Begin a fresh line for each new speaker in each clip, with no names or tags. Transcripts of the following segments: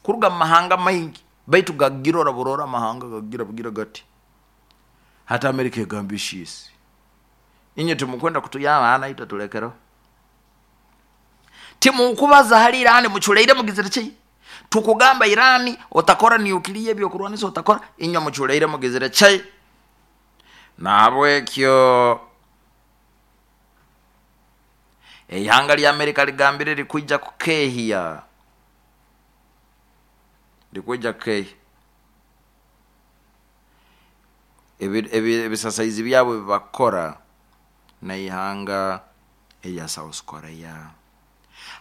Kuruga mu mahanga maingi, baitu gagirora burora amahanga gagira bugira gati. Hati Amerika egamba ishiisi, inywe timukwenda kutuyamba, naitwe tulekereho. Timukubaza hali Irani, muculeire mugizire ki? Tukugamba Irani otakora nuclear, ebyokurwanisa otakora, inywe muculeire mugizire ki? Nahabwekyo eihanga lya Amerika ligambire likwija kukeehya, likwija kukeehya ebisasaizi byabo ebibakukora n'eihanga erya South Korea.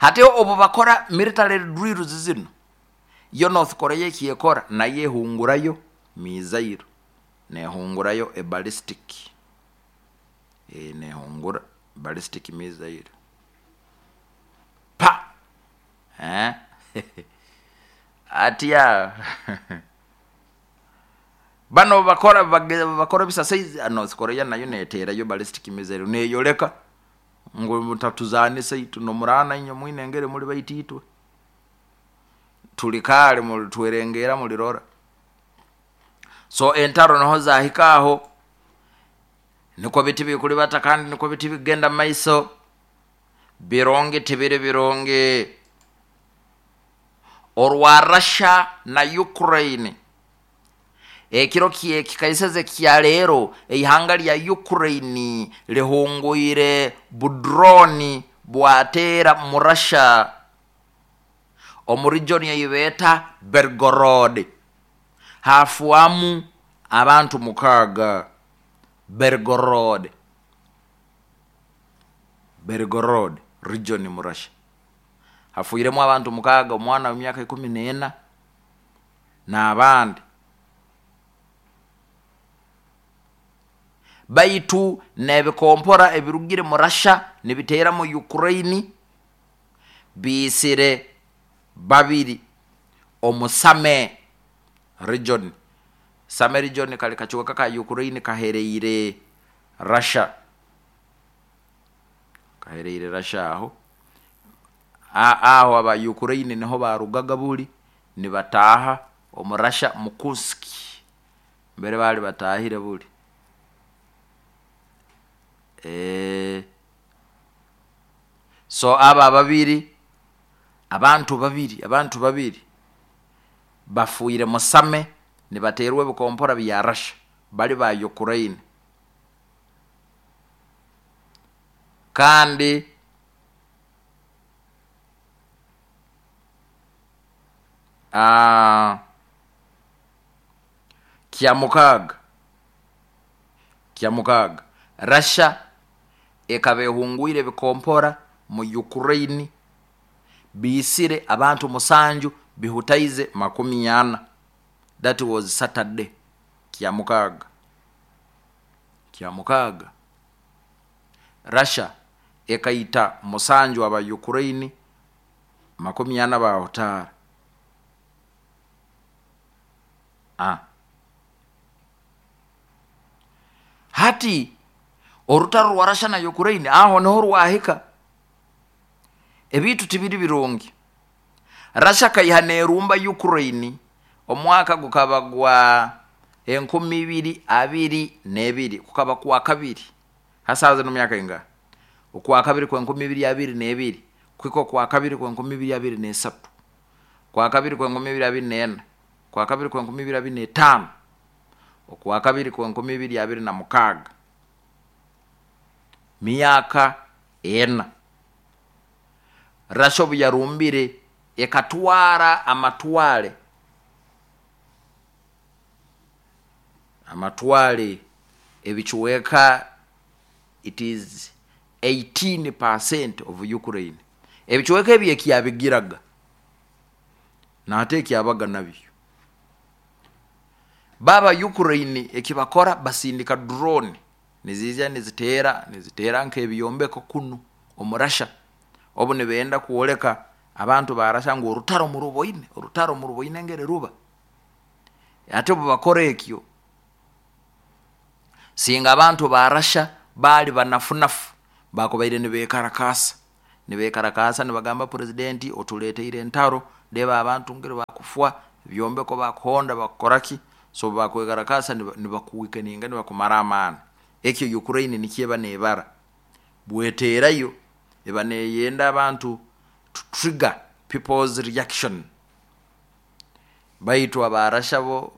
Hati obu bakora military drills zinu, yo North Korea ekyekora nayo ehungurayo missile, nehungurayo e ballistic, nehungura ballistic missile pa atya bano bakora bakora ebisasaizi, North Korea nayo neteerayo ballistic missile, neyoleka ngu mutatuzanisa itwe nomurana inywe mwine engeri muli baitu itwe tulikaale mulitwerengera mulirora. So entaro niho zahika aho, nikwo biti bikulibata kandi nikwo biti bigenda maiso, birungi tibiri birungi. Orwa Russia na Ukraine, ekiro kikaiseze kya leero, eihanga lya Ukraine lihungwire budroni bwateera mu Russia omu region ei beeta Belgorod, hafwamu abantu 6. Belgorod, Belgorod region mu Russia, hafwiremu abantu 6, omwana w'emyaka 14 n'abandi. Baitu n'ebikompora ebirugire mu Russia nibiteera mu Ukraine biisire 2 omu Same region. Same region kali kacweka ka Ukraine kahereire Russia, kahereire Russia aho. Aho aba Ukraine niho barugaga buli nibataaha omu Russia mu Kursk mbere baali batahire buli. So abo ababiri, abantu babiri, abantu babiri bafuire musame nibateerwa ebikompora bya Russia, bali ba Ukraine. Kandi kyamukaaga, Russia ekaba ehungwire ebikompora mu Ukraine, biisire abantu 7, bihutaize 40. That was Saturday, kyamukaaga. Kyamukaaga, Russia ekaita 7 aba Ukraine, 40 bahutaara. Hati orutaro rwa Russia na Ukraine aho niho rwahika. Ebintu tibiri birungi. Russia kaiha nerumba Ukraine omwaka gukaba gwa 2022, kukaba kwa kabiri. Hasaza no myaka inga? Okwa kabiri kwa 2022, kuhika okwa kabiri kwa 2023, kwa kabiri kwa 2024, kwa kabiri kwa 2025, okwa kabiri kwa 2026. Miaka 4. Russia obu yarumbire ekatwara amatwale, amatwale ebicweka, it is 18% of Ukraine. Ebicweka ebi ekyabigiraga nate ekyabaga nabyo. Baba Ukraine ekibakora basindika drone nizija niziteera, niziteera nk'ebyombeko kunu omu Russia. Obu nibenda kwoleka abantu ba Russia ngu orutaro muruboine, orutaro muruboine engeri ruba. Ate obu bakora ekyo, singa abantu ba Russia baali banafunafu, bakubaire nibekarakaasa, nibekarakaasa nibagamba presidenti otuleteire entaro, Reba abantu ngeri bakufwa, ebyombeko bakuhonda, bakukoraki. So bakwegarakasa nibakuweakeninga, nibakumara amaani. Ekyo Ukraine nikyeba nebara bweterayo, eba neyenda abantu to trigger people's reaction. Baitu abarasha bo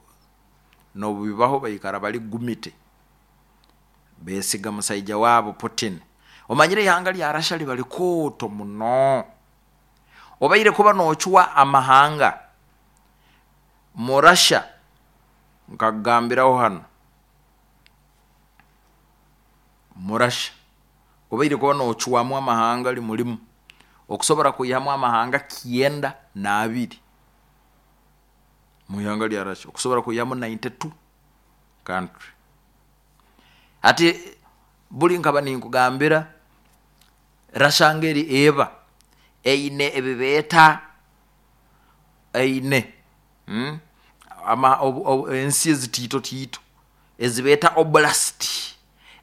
nobubibaho baikara bali gumite, besiga musaija wabo Putin. Omanyire ihanga lya Rasha liba likooto muno, obaire kuba nocwa amahanga mu Rasha. Nkakugambiraho hano mu Rasha obaire kuba nocwamu amahanga limulimu, okusobora kwihamu amahanga 92 mu ihanga lya Rasha, okusobora kwihamu 92 country. Ati buli nkaba ninkugambira Rasha ngeri eba eine ebibeeta eine ensi ezitiito tiito ezibeeta oblast,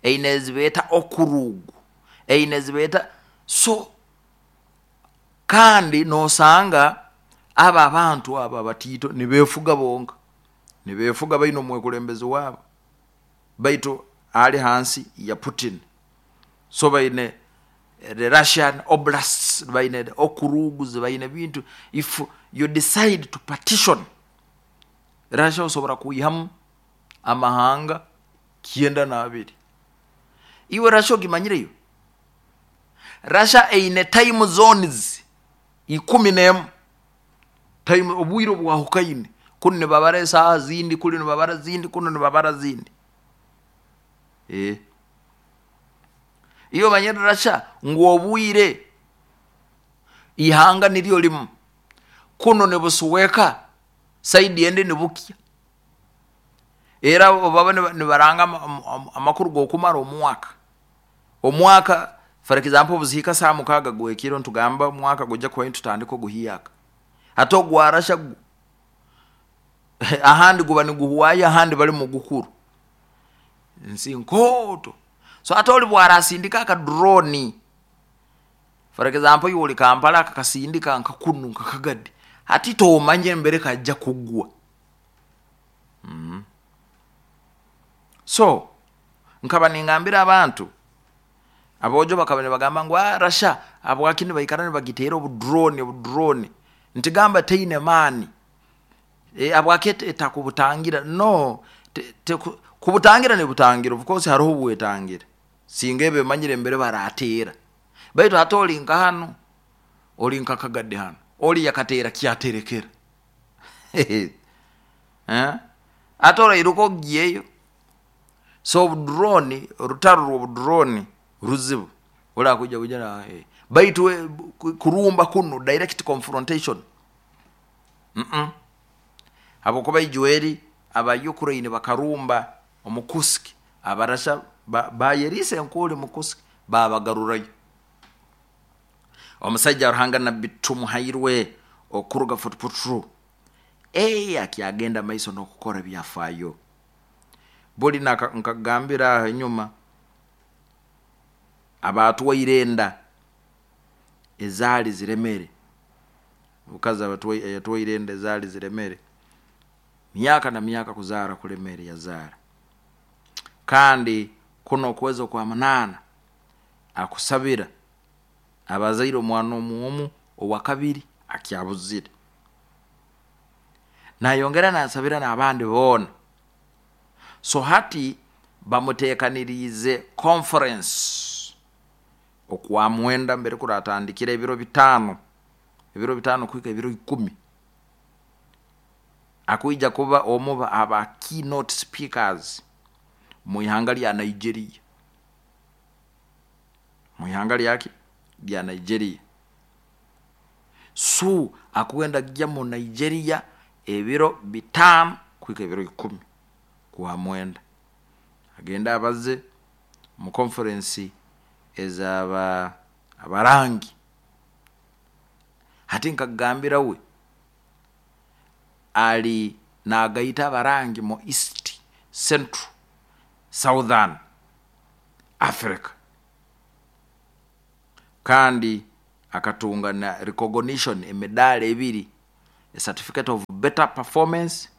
eine ezibeeta okrug, eine ezibeeta. So kandi nosanga abo abantu abo abatiito nibefuga bonka, nibefuga baine omwekulembezi wabo, baitu ali hansi ya Putin. So baine the Russian oblasts, baine okrugs, baine bintu. If you decide to partition Russia, osobora kwihamu amahanga 92. Iwe Russia ogimanyireyo? Russia eine time zones 11, time obwire obwahukaine. Kunu nibabara esaaha zindi, kuli nibabara zindi, kunu nibabara zindi. Iwe omanyire Russia ngu obwire ihanga niryo limu, kuno nibusuweka, saidi endi nibukya. Era baba nibaranga amakuru g'okumara omwaka. Omwaka for example obuzihika saa 6 gwekiro, ntugamba omwaka gujja kuhwayo, tutandika oguhiyaka. Hati ogwa Rasha gwo ahandi guba niguhwayo, ahandi bali mugukuru. Nsi nkooto. So ate oli bwarasindika akadroni, for example iwe oli Kampala, akakasindika nka kunu nka Kagadi, hati tomanya embere kajja kugwa. So nkaba ningambira abantu abojo bakaba nibagamba ngu Rasha habwaki nibaikara nibagiteera obudroni obudroni, ntigamba teine maani, habwaki etakubutangira? No, kubutangira nibutangira, of course haroho obwetangira singa eba emanyire embere barateera. Baitu hati oli nka hano, oli nka Kagadi hano, oli yakateera kyaterekera, ate orairuka ogiyeyo. So obudroni, orutaro rw'obudroni ruzibu, orakuija kuija, baitu kurumba kunu direct confrontation, habwokuba ijweri aba Ukraine bakarumba omu Kursk, abarasha bayeriisa enkuuli mu Kursk, babagarurayo. Omusaija Ruhanga Nabbi Tumuhairwe okuruga Fort Portal akyagenda maiso n'okukora ebyafaayo. Buli nkagambira aho enyuma, abatwaire enda ezaali ziremere, omukazi yatwaire enda ezaali ziremere, myaka na myaka kuzaara kulemere, yazaara. Kandi kuno okwezi okwa 8 akusabira abazaire omwana omu owa kabiri akyabuzire, nayongera nasabira n'abandi boona. So hati bamuteekaniriize conference okwa 9 mbere kuratandikira ebiro 5, ebiro 5 kuhika ebiro 10. Akwija kuba omu aba keynote speakers mu ihanga lya Nigeria, mu ihanga lyaki lya Nigeria. So akwenda kujya mu Nigeria ebiro 5 kuhika ebiro 10 kwa 9, agenda abaze mu conference ezaba abarangi. Hati nkagambira we ali nagaita abarangi mu East, Central, Southern Africa, kandi akatunga na recognition, emidaara 2. A certificate of better performance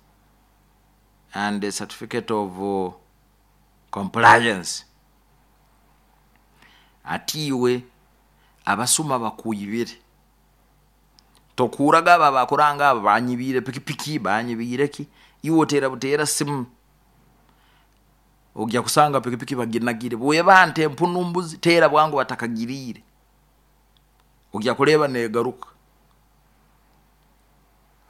and a certificate of compliance. Ati iwe abasuma bakwibire, tokuraga abo abakuranga abo banyibiire pikipiki, banyibiire ki, iwe oteera buteera simu, ojya kusanga pikipiki baginagire. Bweba nte, empunu, mbuzi, teera bwangu batakagiriire, ojya kureeba negaruka.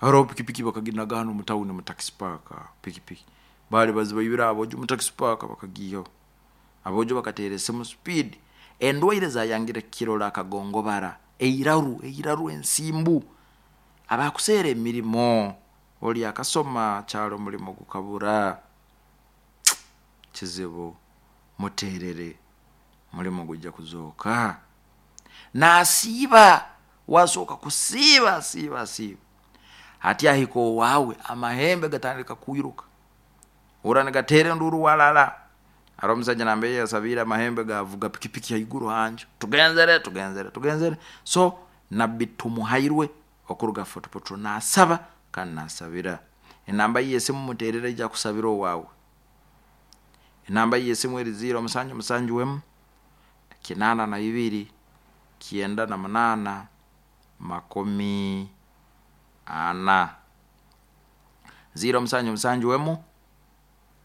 Haroho pikipiki bakaginaga hanu mu tawuni mu taxi park. Pikipiki baali bazibaibire abojo mu taxi park, bakagiihaho. Abojo bakateera esimu speed. Endwaire zayangire kukirora, akagongobara, eiraru, eiraru, ensimbu, abakuseera emirimo, oli akasoma kyaro, omulimo gukabura, kizibu. Muterere, mulimo gujja kuzooka. Nasiiba, wasooka kusiiba, asiiba, asiiba ati ahika owaawe, amahembe gatandika kwiruka, ora nigateera enduru walala. Haroho omusaija nambere yasabiire, amahembe gavuga pikipiki haiguru hanju. Tugenzere, tugenzere, tugenzere. So Nabbi Tumuhairwe okuruga Fort Portal nasaba kandi nasabira. Enamba ye yesimu, muterere, ija kusabira owaawe. Enamba ye yesimu eri 0 7 7 1 82 98 40. 0 7 7 1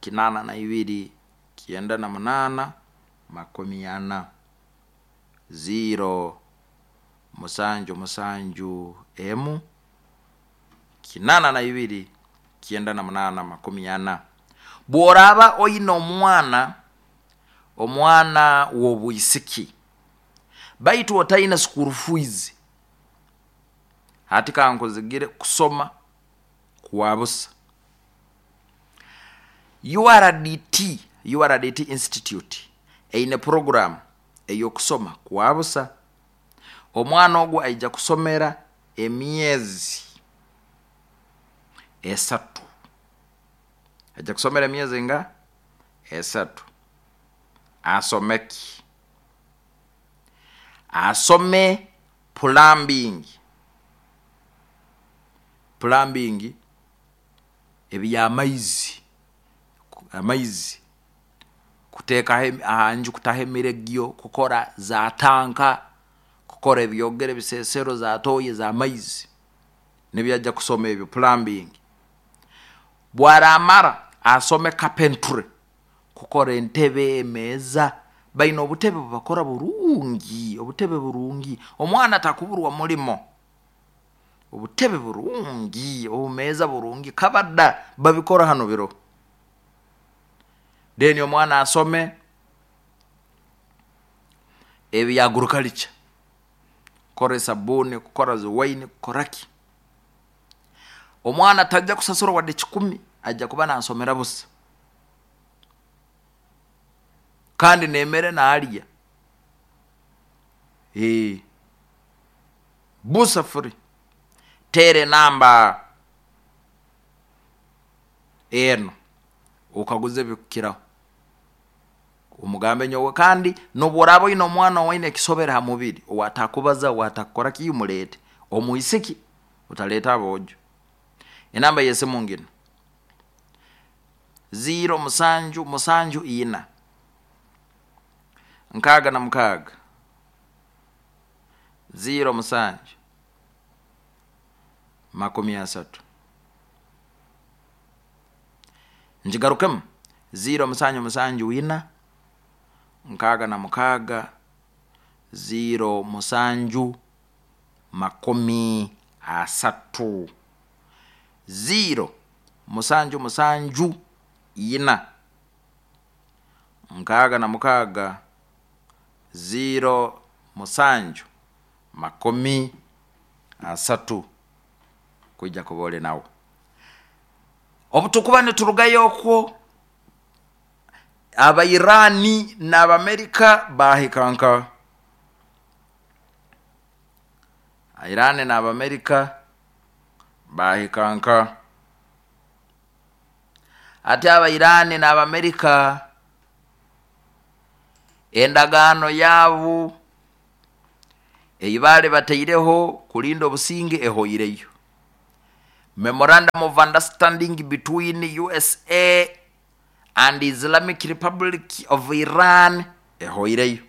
82 98 40. 0 7 7 1 82 98 40. Bworaba oine omwana, omwana w'obwisiki, baitu otaine school fees, hati kankuzigire kusoma kwa busa. URDT, URDT Institute eine program ey'okusoma kwa busa. Omwana ogu aija kusomera emyezi 3, aija kusomera emyezi nga 3. Asome ki? Asome plumbing. Plumbing ebyamaizi, amaizi, kuteekaho ahanju, kutaho emiregyo, kukora za tanka, kukora ebyogere, ebisesero, za toyi ez'amaizi, nibyo ajja kusoma ebyo, plumbing. Bwaramara asome carpentry, kukora entebe, emeeza. Baine obutebe bubakora burungi, obutebe burungi. Omwana takuburwa mulimo. Obutebe burungi, obumeeza burungi, kabada babikora hanu biro. Then omwana asome ebya agriculture, kukora esabuni, kukora ziwaini, kukora ki. Omwana tajja kusasura wadde 100, ajja kuba nasomera busa, kandi nemere nalya busa, free. Teera enamba eno okaguze ebikukiraho, omugambe nyowe. Kandi nobworaba oine omwana owaine ekisobere ha mubiri, owatakubaza, owatakukora ki, muleete omwisiki, otaleeta aboojo. Enamba yesimu ngino: 0 7 7 4 66 0 7 30. Ngigarukemu: 0 7 7 4 66 0 7 30. 0 7 7 4 66 0 7 30, kwija kuba oli nawe. Obu tukuba niturugayo okwo, Abairani n'Abamerika bahika nka Irani n'Abamerika bahika nka ati Abairani n'Abamerika endagaano yaabo ei baali bataireho kulinda obusinge ehoireyo. Memorandum of understanding between USA and Islamic Republic of Iran ehoireyo.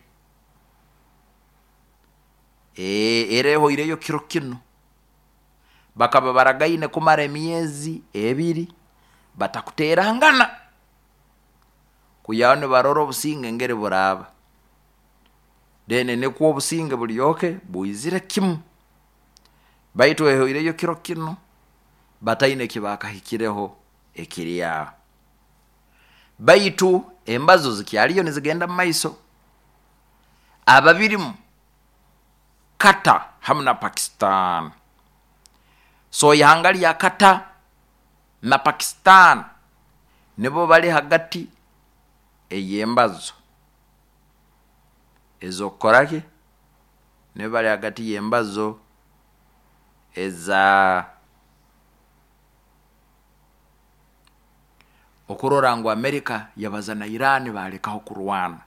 Era ehoireyo kiro kinu. Bakaba baragaine kumara emyezi 2 batakuterangana, kuyaho nibarora obusinge engeri buraaba. Then nikwo obusinge bulyoke bwizire kimu. Baitu ehoireyo kiro kinu bataine ekibakahikireho ekiri aho. Baitu embazo zikyaliyo nizigenda mu maiso. Ababirimu Qatar hamu na Pakistan. So ihanga lya Qatar na Pakistan nibo bali hagati ey'embazo ez'okukora ki? Nibo bali hagati y'embazo eza okurora ngu Amerika yabaza na Iran balekaho kurwana.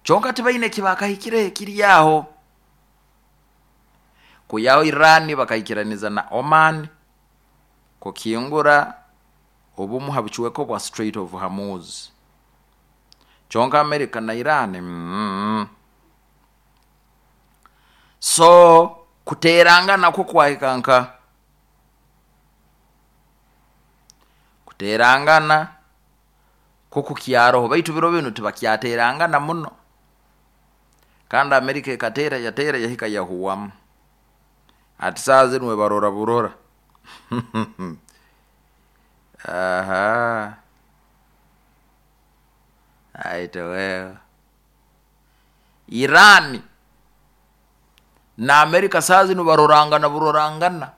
Kyonka tibaine ekibakahikireho ekiri aho. Kuyaho Iran bakaikiraniza na Oman kukingura obumu ha bucweka obwa Strait of Hormuz. Kyonka Amerika na Iran So kuterangana kwo kwahika nka kuterangana kwo kukyaroho, baitu biro binu tibakyaterangana muno. Kandi Amerika ekatera yatera yahika yahuwamu. Ati saaha zinu webarora burora. Aha. Aite wewe. Iran na Amerika saaha zinu barorangana burorangana.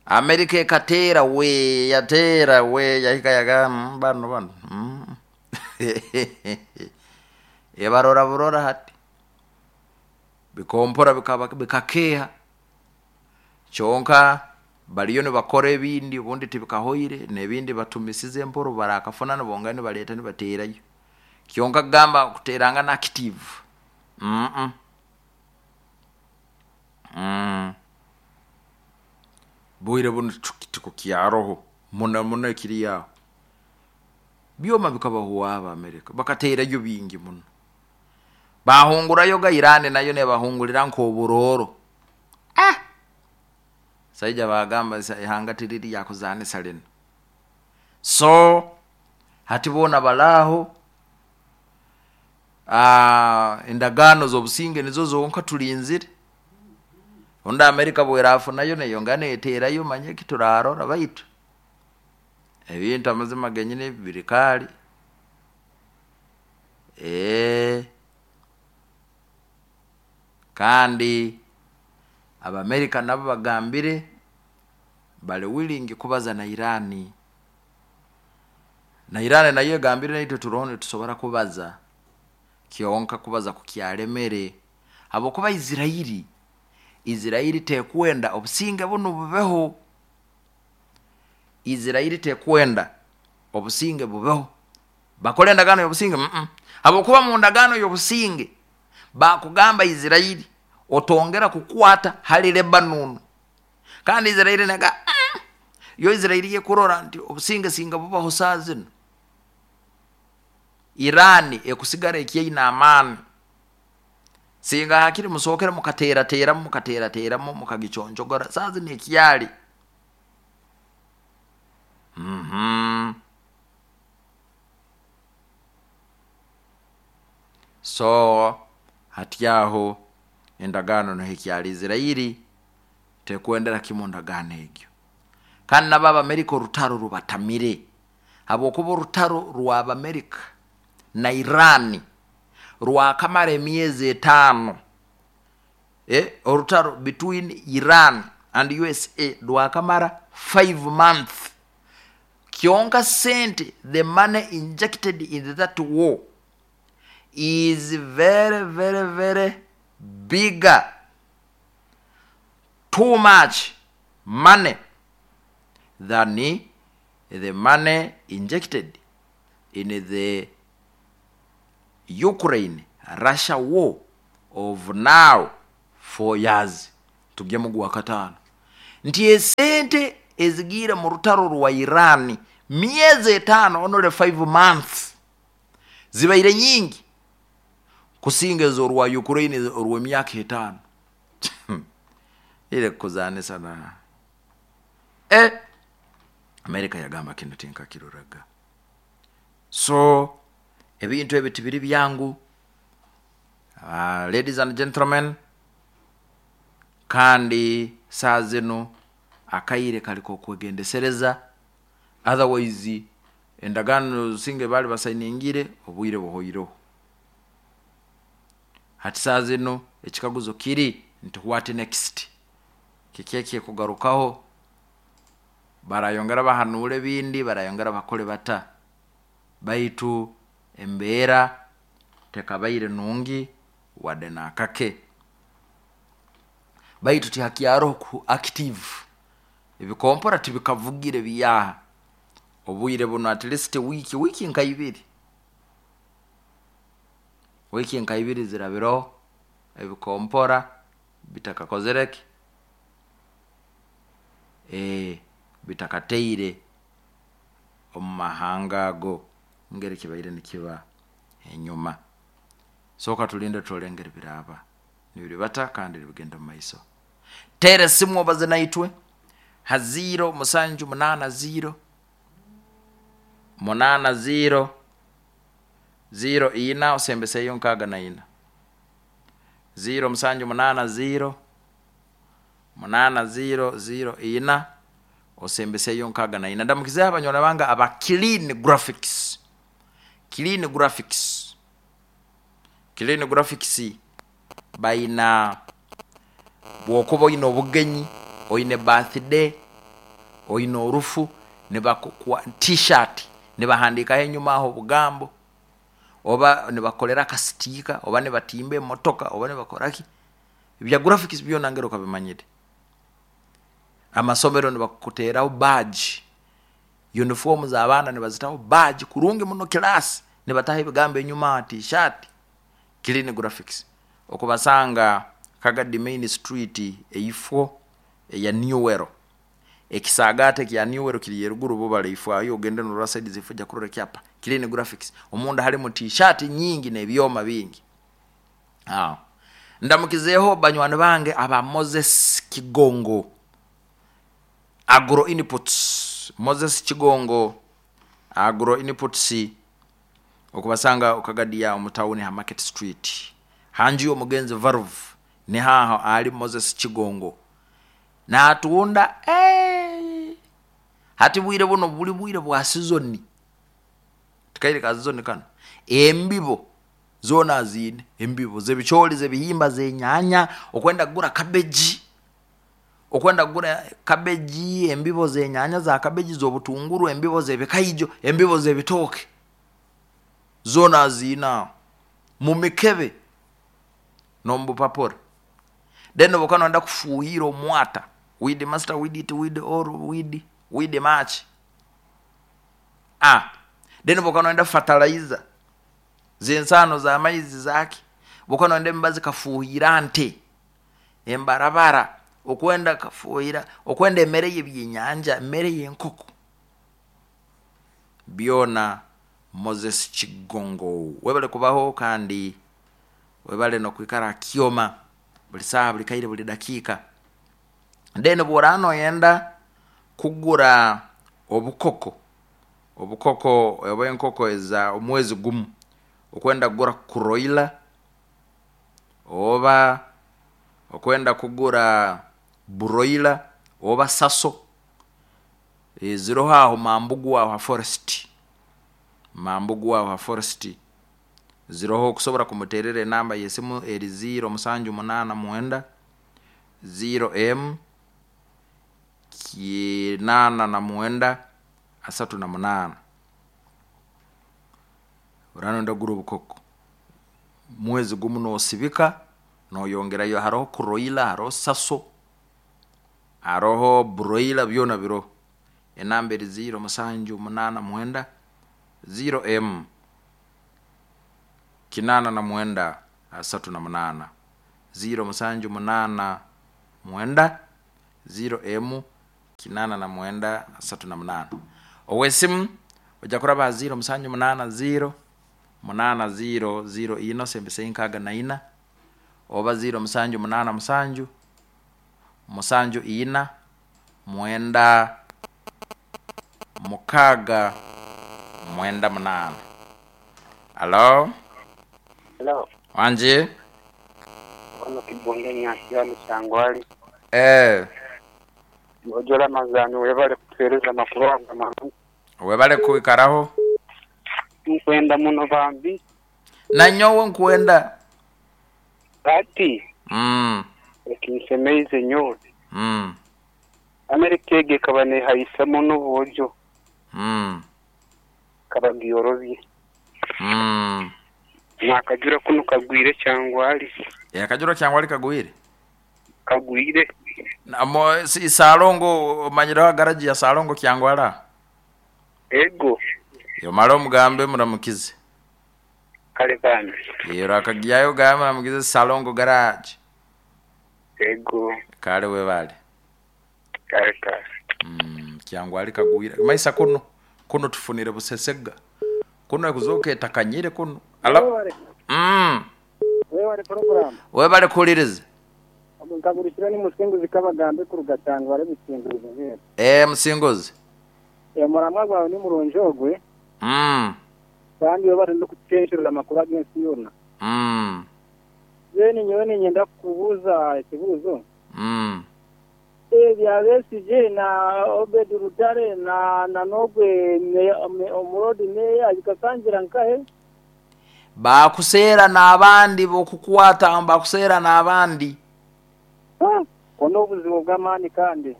Amerika ekatera we yatera we yahika yaga bano bano. Ebarora burora hati. Bikompora bikakeha. Kyonka baliyo nibakora ebindi obundi tibikahoire n'ebindi batumisize emporo barakafuna nibongera nibaleta nibaterayo. Kyonka kugamba kuterangana active. Bwire bunu tikukyaroho muno muno ekiri aho. Byoma bikabahuwa aba Amerika bakaterayo bingi muno. Bahungurayo ga Iran nayo nebahungurira nk'oburoro. Saija bagamba ihanga tiriri yakuzanisa lino. So hati bona balaho endagaano z'obusinge nizo zonka tulinzire. Ondi Amerika bwerafunayo neyongera neterayo manye eki turarora, baitu ebintu amazima genyini biri kaali. Kandi Abamerika nabo bagambire bali willing kubaza na Iran. Na Iran nayo egambire naitwe turoho nitusobora kubaza, kyonka kubaza kukyalemere habwokuba Israeli tekwenda obusinge bunu bubeho. Israeli tekwenda obusinge bubeho. Bakora endagaano y'obusinge? Habwokuba mu ndagaano y'obusinge bakugamba Israeli otongera kukwata hali Lebanon. Kandi Israeli nega yo Israeli yekurora nti obusinge singa bubaho saa zino. Iran ekusigara ekyaine amaani. Singa hakiri musookere mukaterateramu mukaterateramu mukagiconjogora saa zino ekyali. So hati aho endagaano niho ekyali Israeli tekwendera kimu ndagaano egyo. Kandi nabo Abamerika orutaro rubatamire habwokuba orutaro rw'Abamerika na Iran rwakamara emyezi 5. Orutaro between Iran and USA rwakamara 5 months. Kyonka sente, the money injected in that war is very, very, very bigger. Too much money than the money injected in the Ukraine-Russia war of now 4 years. Tujye mu gwa 5. Nti esente ezigiire mu rutaro rwa Iran myezi 5, only 5 months, zibaire nyingi kusinga ez'orwa Ukraine orw'emyaka 5. Ile kuzanisa na Amerika yagamba kino tinkakiroraga. So ebintu ebi tibiri byangu, ladies and gentlemen, kandi saa zinu akaire kali k'okwegendesereza, otherwise endagaano singa baali basainingire obwire buhoireho. Hati saa zinu ekikaguzo kiri nti what next? Kiki ekikugarukaho? Barayongera bahanuura ebindi, barayongera bakole bata? Baitu embeera tekabaire nungi wadde n'akake. Baitu tihakyaroho ku active, ebikompora tibikavugire biyaha obwire buno, at least wiki nka ibiri, wiki nka ibiri zirabireho ebikompora bitakakozire ki, bitakateire omu mahanga ago ngeri kibaire nikiba enyuma. Soka tulinde turole engeri biraba nibiribata kandi nibigenda mu maiso. Teera esimu obaze naitwe ha 0 7 8 0 8 0 0 4 osembeseyo 64 0 7 8 0 8 0 0 4 osembeseyo 64. Ndamukizeho abanywana bange aba Clean Graphics. Clean Graphics, Clean Graphics baina bwokuba oine obugenyi, oine birthday, oine orufu, nibakuwa t-shirt nibahandikaho enyuma aho obugambo, oba nibakolera akasitika, oba nibatimba emotoka, oba nibakoraki, ebya graphics byona ngeri okabimanyire. Amasomero nibakuteraho badge, uniform z'abaana nibazitaho badge kurungi muno, class nibataho ebigambo enyuma t-shirt. Clean Graphics okubasanga Kagadi Main Street eifo eya Newell, ekisagate kya Newell kiri eruguru bubale ifo ayo, ogende norora side zifo ja kurora ekyapa Clean Graphics, omunda halimu t-shirt nyingi n'ebyoma bingi. Ndamukizeho banywani bange aba Moses Kigongo Agro Inputs, Moses Kigongo Agro Inputs okubasanga okagadiya omu tawuni ha Market Street hanju y'omugenzi Valve, nihaho ali Moses Kigongo natunda. Hati bwire buno buli bwire bwa sizoni, tikaire ka sizoni kano, embibo zona aziine, embibo z'ebicooli, z'ebihimba, z'enyanya, okwenda kugura cabbage, okwenda kugura cabbage, embibo z'enyanya za cabbage, z'obutunguru, embibo z'ebikaijo, embibo z'ebitooke zona aziine aho mu mikebe n'omu bupapura. Then obuka noyenda kufuhira omwata, weed master, weed it, weed all, weed match. Then obuka noyenda fertilizer z'ensaano z'amaizi zaki, obuka noyenda emibazi kafuhira nte embarabara, okwenda kafuhira, okwenda emere y'ebyenyanja, emere y'enkoko, byona Moses Kigongo webale kubaho kandi webale nokwikara kyoma buli saaha, buli kaire, buli dakiika. Then bw'oraaba noyenda kugura obukoko, obukoko oba enkoko eza omwezi gumu, okwenda kugura broiler oba okwenda kugura broiler oba saso, ziroho aho Mambugu aho ha forest, Mambugu aho ha forest ziroho. Okusobora kumuterera enamba y'esimu eri 0 7 8 9 0 M 89 38. Oraba noyenda kugura obukoko mwezi gumu nosibika noyongerayo, haroho broiler, haroho saso, haroho broiler, byona biroho. Enamba eri 0 7 8 9 0 M 89 38, 0 7 8 9 0 emu 89 38. Owesimu ojja kuraba ha 0 7 8 0 8 0 0 ino sembese 64 oba 0 7 8 7 7 4 9 6 9 8. Alo?
Hello.
Wangi?
Ono Kibonge Nyansi Kyangwali.
Eh.
Ojola Mazani webale kutuhereza amakuru ago amarungi.
Webale kwikaraho.
Nkwenda muno bambi.
Nanyowe nkwenda.
Ati. Ekinsemeize nyowe. Amerika egi ekaba nehaisa muno obwojo. Kaba giyorobye. Nakajura kunu kagwire Kyangwali.
Akajura Kyangwali kagwire?
Kagwire.
Namo si Salongo omanyiraho garaji ya Salongo Kyangwala?
Ego.
Yomara omugambe muramukize.
Kale bambi.
Rakagiyayo gambe muramukize Salongo garage.
Ego.
Kale webale.
Kale kale.
Kyangwali kagwire. Maisa kuno kuno tufunire busesega. Kuno ekuzoka etakanyire kuno. Alo.
Webale program.
Webale kuliriza.
Nkagurukira ni musinguzi kabagambe kuruga Kyangwali businguzi.
Musinguzi.
Muramwa gwawe ni murungi ogwe. Kandi webale n'okucenshurira amakuru ag'ensi yoona. Then nyowe ninyenda kukubuuza ekibuuzo. Ebya Besigye na Obed Rutare na Nogwe omurodi meya bikasangira nkahe?
Bakuseera n'abandi bokukwata bakuseera n'abandi.
Ono obuzibu bw'amaani kandi.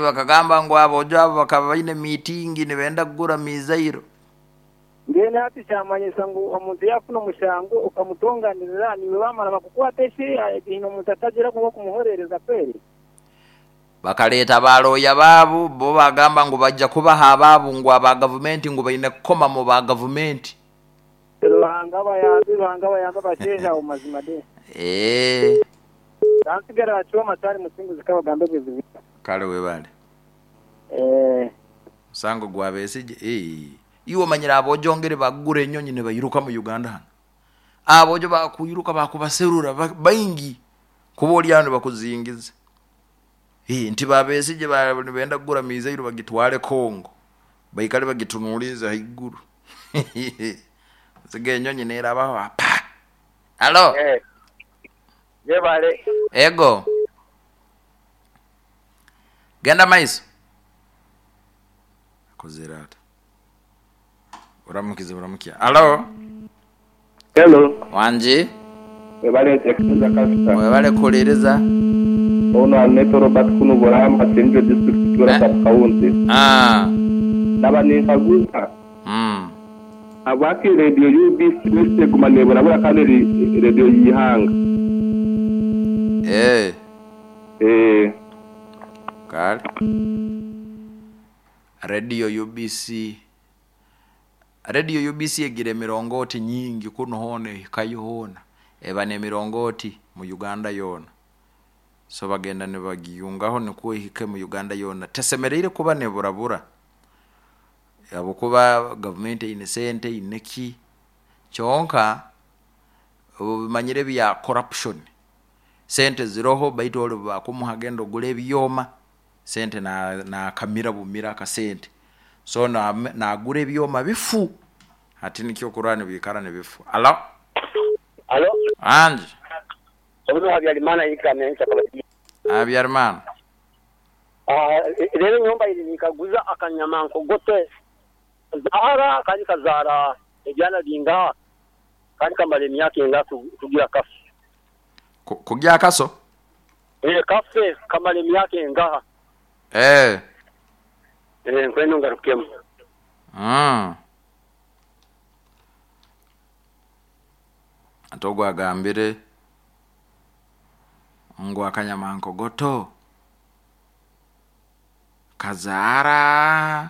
Bakagamba ngu abojo abo bakaba baine miitingi nibenda kugura mizairo.
Mbwenu hati kyamanyisa ngu omuntu yafuna omushango okamutonganirira niwe bamara bakukwata eshi ino omuntu atagira kuba kumuhorereza kweri.
Bakaleta baloya baabo bo bagamba ngu bajja kubaha abaabo ngu aba gavumenti ngu baine kukoma mu ba gavumenti.
Ruhanga bayambi basheja omu mazima de. Kansigara achoma tari musinguzi kabagambe bwezibu.
Kale webale. Musango gwa Besigye iwe manyira abojongere bagura enyonyi ne bayiruka mu Uganda hano. Abojo bakuyiruka bakubaserura baingi kuba oli ano bakuzingiza. Nti ba Besigye benda kugura mizairo bagitwale Kongo. Baikale bagitunuliza haiguru. Sige enyonyi nerabaho apa. Alo.
Yebale.
Ego. Genda maiso. Kozerata. Uramukize uramukia. Alo.
Hello.
Wanji.
Webale tekeza kasta.
Webale kulereza.
Ono Alneto Robert kuno Borama Central District Tura Sub County. Naba ninkaguza. Abaki radio UBC wese gumanebura bura kandi radio yihanga.
Kale. Radio UBC. Radio UBC egira emirongoti nyingi kuno hone kayihona. Eba n'emirongoti mu Uganda yona. So bagenda ne bagiyungaho nikuwe hike mu Uganda yona. Tesemereire kuba neburabura. Yabo kuba government ine sente ineki kyonka bimanyire bya corruption. Sente ziroho baitu ole bakumuha gendo gule ebyoma sente na kamira bumira akasente. So na gure ebyoma bifu. Ati nikyo kurani bikara ne bifu. Alo.
Alo.
Anji.
Obuno Habyarimana yikamenya kabati.
Habyarimana.
Rero nyumba iri nikaguza akanyamanko gote. Zahara kandi kazara ebyana binga kandi kamara emyaka enga kugira kafe.
Kugira kaso?
Kafe kamara emyaka enga. Nkweno ngarukemo.
Atogwa agambire ngo akanyamanko goto kazara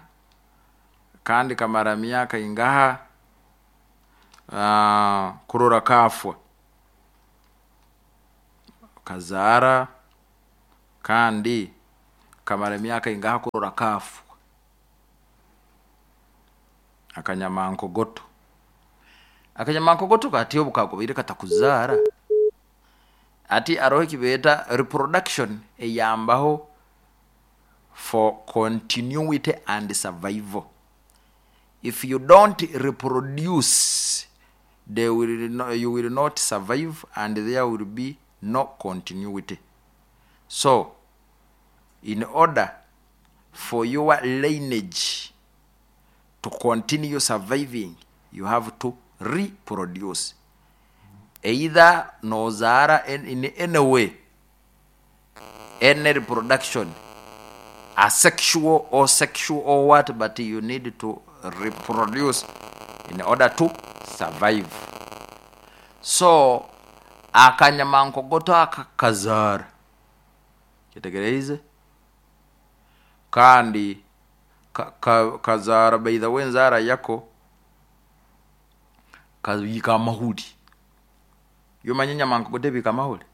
kandi kamara miaka ingaha kurora kafwa kazara kandi Kamara emyaka ingaha kurora kafu akanyamankogoto. Akanyamankogoto kati obu kakubaire katakuzaara, ati aroho ekibeeta reproduction eyambaho for continuity and survival. If you don't reproduce, they will no, you will not survive and there will be no continuity. So in order for your lineage to continue surviving, you have to reproduce. Either nozaara in any way, any reproduction, asexual or sexual or what, but you need to reproduce in order to survive. So akanyamankogoto aka kazaara, kyetegereize, kandi kazaara, by the way, enzaara yako kabiika amahuri. Yomanya enyamankogoto ebiika amahuri,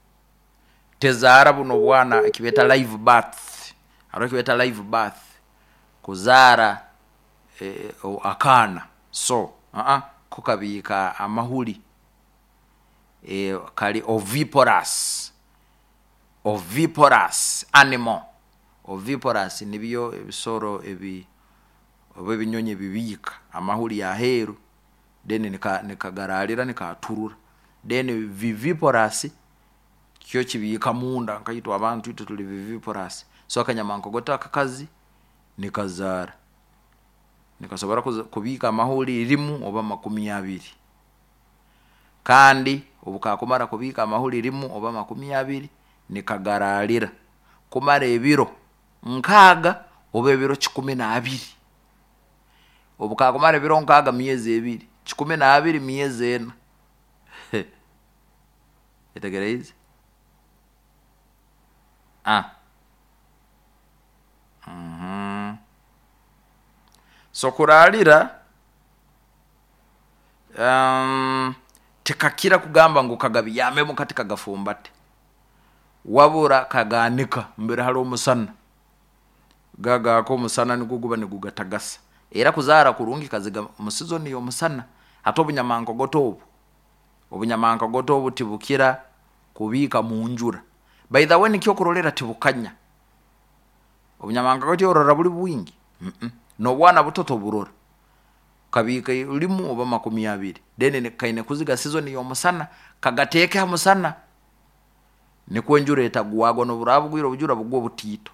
tezaara buno bwana ekibeeta live birth. Hariho ekibeeta live birth, kuzaara akaana. So ko kabiika amahuri, kali oviparous, oviparous animal. Oviparous nibyo ebisoro ebi oba ebinyonyi ebibiika amahuri aheeru, then nikagaraalira nikaturura. Then viviparous kyo kibiika munda, nkaitwe abantu itwe tuli viviparous. So akanyamankogoto akakazi nikazaara, nikasobora kubiika amahuri 1 oba 20, kandi obu kakumara kubiika amahuri 1 oba 20, nikagaraalira kumara ebiro 60 oba ebiro 120. Obu kakumara ebiro 60, myezi 2, 120 myezi 4. Etegereize. So kuraalira, tikakira kugamba ngu kagabyamemu kati kagafumbate, wabura kagaanika mbere hali omusana, gagaaka omusana nigwo guba nigugatagasa. Era kuzaara kurungi kaziga mu season y'omusana. Hati obunyamankogoto obu, obunyamankogoto obu tibukira kubiika mu njura. By the way, nikyo okurolera tibukanya obunyamankogoto, orora buli bwingi, n'obwana buto toburora. Kabiika 1 oba 20, then kaine kuziga season y'omusana, kagateeke ha musana nikwo enjura etagwagwa. N'obu bugwire obujura bugwa obutiito,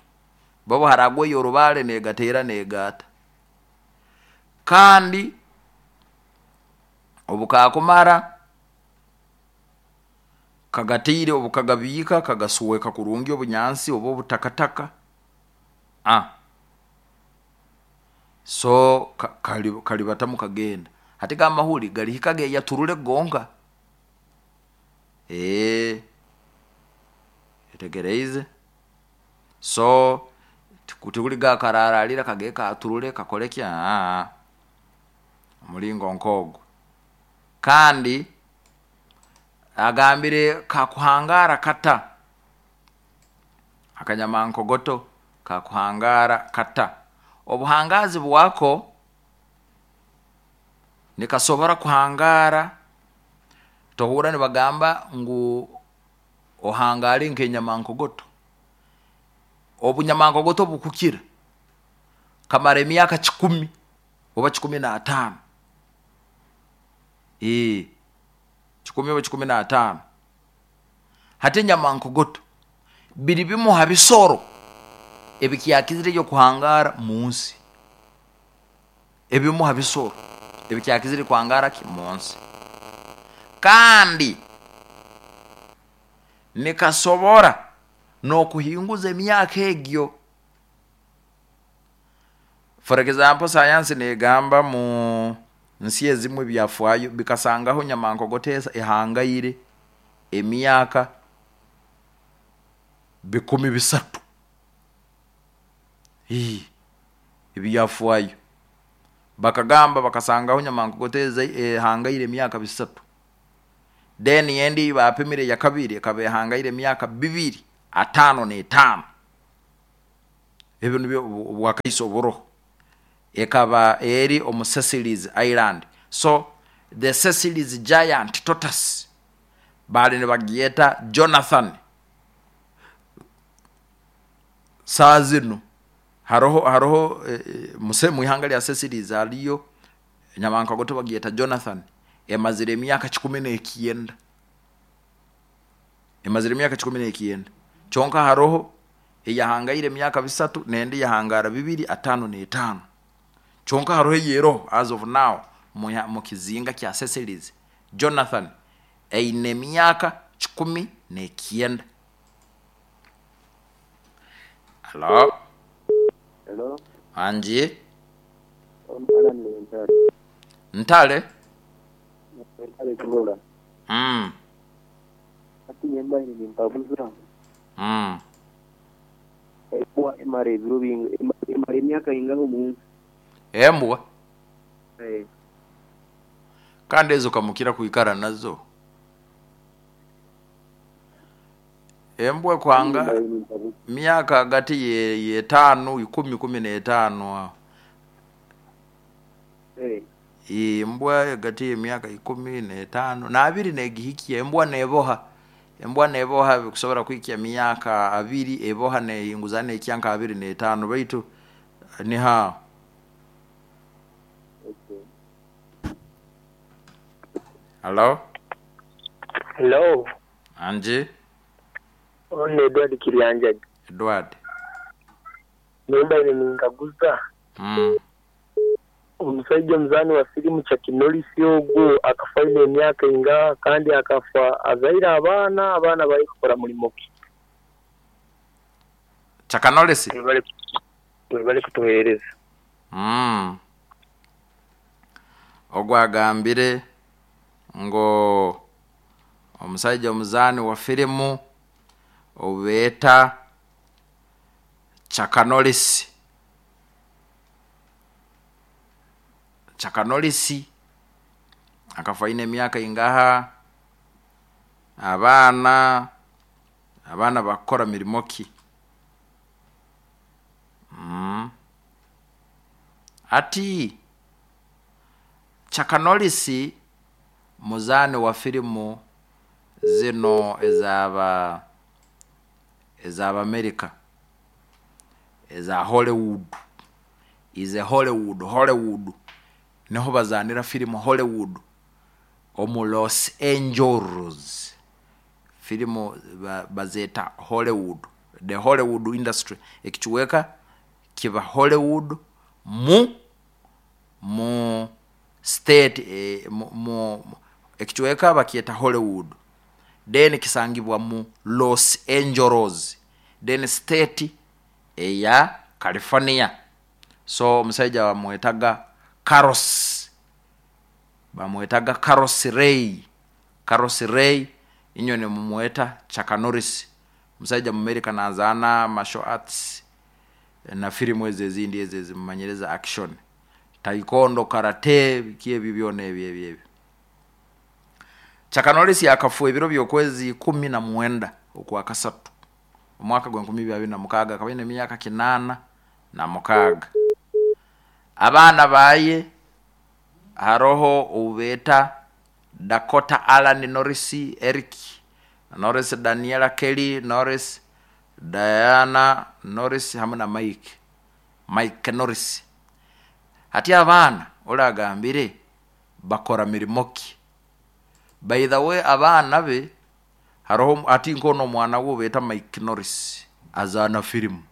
babo haragwayo orubaale negateera negaata. Kandi obu kakumara kagatiire, obu kagabiika kagasweka kurungi obunyansi oba obutakataka. So kalibatamu kagenda. Hati gamahuri galihika geyaturule gonka. Etegereize. So tikuli gakararalira kage katurule kakole ki, omulingo nk'ogwo. Kandi agambire kakuhangara kata, akanyamankogoto kakuhangara kata. Obuhangazi bwako, nikasobora kuhangara, tohurra nibagamba ngu ohangare nk'enyamankogoto. Obunyamankogoto bukukira kamara emyaka 100 oba 15, 100 oba 15. Hati enyamankogoto biri bimu ha bisoro ebikyakizireyo kuhangara mu nsi, ebimu ha bisoro ebikyakizire kuhangara ki mu nsi. Kandi nikasobora n'okuhinguza emyaka egyo. For example, sayansi negamba mu nsi ezimu ebyafaayo bikasangaho nyamankogoto ehangaire emyaka 300. Ebyafaayo bakagamba bakasangaho nyamankogoto ehangaire emyaka 300. Then endi bapimire ya kabiri ekaba ehangaire emyaka 255. Ebyo nibyo obwakaiso oburoho. Ekaba eri omu Seychelles Island. So the Seychelles giant tortoise baali nibagyeta Jonathan. Saaha zinu haroho haroho mu ihanga lya Seychelles haliyo enyamankagoto bagyeta Jonathan emazire emyaka 19. Emazire emyaka 19. Kyonka haroho eyahangaire emyaka 3 n'endi yahangaara 255. Kyonka haroho eyeroho as of now mu kizinga kya Seychelles Jonathan eine emyaka 19. Halo.
Hello.
Angi.
Alan Ntale.
Ntale.
Ntale Kibola. Hati nyemba nimpabuza. Embwa emara ebiro binga emara emyaka ingaha omunsi?
Embwa?
Eh.
Kandi ezo kamukira kwikara nazo. Embwa kwanga myaka hagati ye 5 10 15 aho. Embwa hagati y'emyaka 15 n'abiri negihikya. Embwa neboha, embwa neboha kusobora kuhikya myaka 20 eboha nehinguza nehikya nka 25 baitu niho.
Okay.
Halo.
Hello.
Angi.
Ono Edward Kiryanjaji.
Edward.
Nemba ninkaguza. Omusajja omuzaani wa firimu Chuck Norris ogwo akafa aine emyaka ingaha kandi akafa azaire abaana, abaana bari kukora mulimo ki?
Chuck Norris?
Webale kutuheereza.
Ogwo agambire ngo omusajja omuzaani wa firimu obeeta Chuck Norris. Chuck Norris akafa aine emyaka ingaha, abaana bakukora mirimo ki? Ati Chuck Norris muzaani wa firimu zino ezaba America eza Hollywood. Is a Hollywood niho bazaanira firimu Hollywood omu Los Angeles. Firimu bazeeta Hollywood, the Hollywood industry. Ekichweka kiba Hollywood mu state mu ekichweka bakyeta Hollywood. Then kisangibwa mu Los Angeles. Then state eya California. So omusajja bamwetaga Carlos. Bamwetaga Carlos Ray. Carlos Ray inyo ne mumweta Chuck Norris. Omusajja mu America nazaana martial arts na firimu ezo ezindi ezo ezimumanyiriza action. Taekwondo, karate, biki ebyo byona ebyo ebyo ebyo. Chuck Norris akafa ebiro by'okwezi 19 okwa kasatu. Omwaka gwa 2026 akaba aine emyaka 86. Abaana baye haroho obubeeta Dakota Alan Norris, Eric Norris, Daniela Kelly Norris, Diana Norris hamwe na Mike Norris. Hati abaana oragambire bakora mirimo ki? By the way abaana be haroho ati nkono omwana we beeta Mike Norris azaana firimu.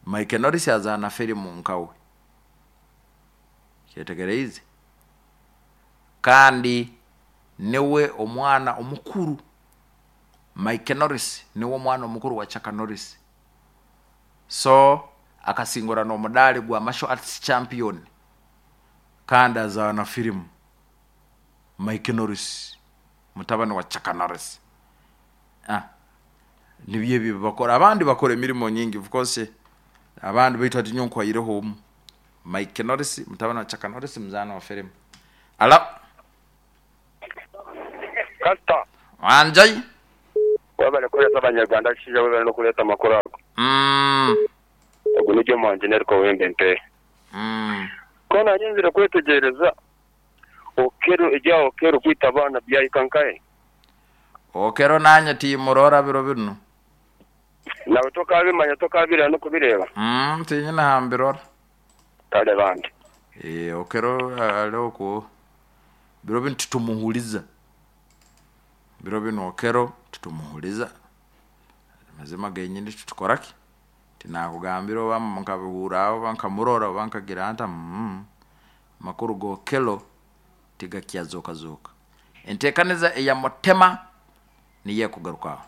Mike Norris azaana firimu nkawe. Kyetegereize. Kandi niwe omwana omukuru. Mike Norris niwe omwana omukuru wa Chuck Norris. So akasingura n'omudaali gwa martial arts champion. Kandi azaana firimu. Mike Norris mutabani wa Chuck Norris. Nibyo ebyo bakora. Abandi bakora emirimo nyingi of course. Abandi baitu ati nyo nkwaireho omu. Mike Norris mutabani wa Chuck Norris muzaana wa firimu. Ala.
Kasta.
Wanjai.
Webale kuheereza Abanyarwanda Kishaija webale n'okureeta amakuru ago. Ogu ni Jomo Ngineriko ow'emba Empeehe. Ku naayenzire kwetegyereza Okello ebya Okello kwita abaana byahika nkahe?
Okello naanye tiimurora biro binu.
Nawe tokaabimanya tokaabireba n'okubireeba?
Tiinyine ha mbirora.
Kare bambi.
Okello ari okwo biro binu titumuhuriza. Biro binu Okello titumuhuriza. Amazima genyini titukora ki? Tinakugambira oba nkabihurra oba nkamurora oba nkagira nta amakuru g'Okello tigakyazooka zooka. Enteekaniza eya Mutema niyo ekugaruka aho.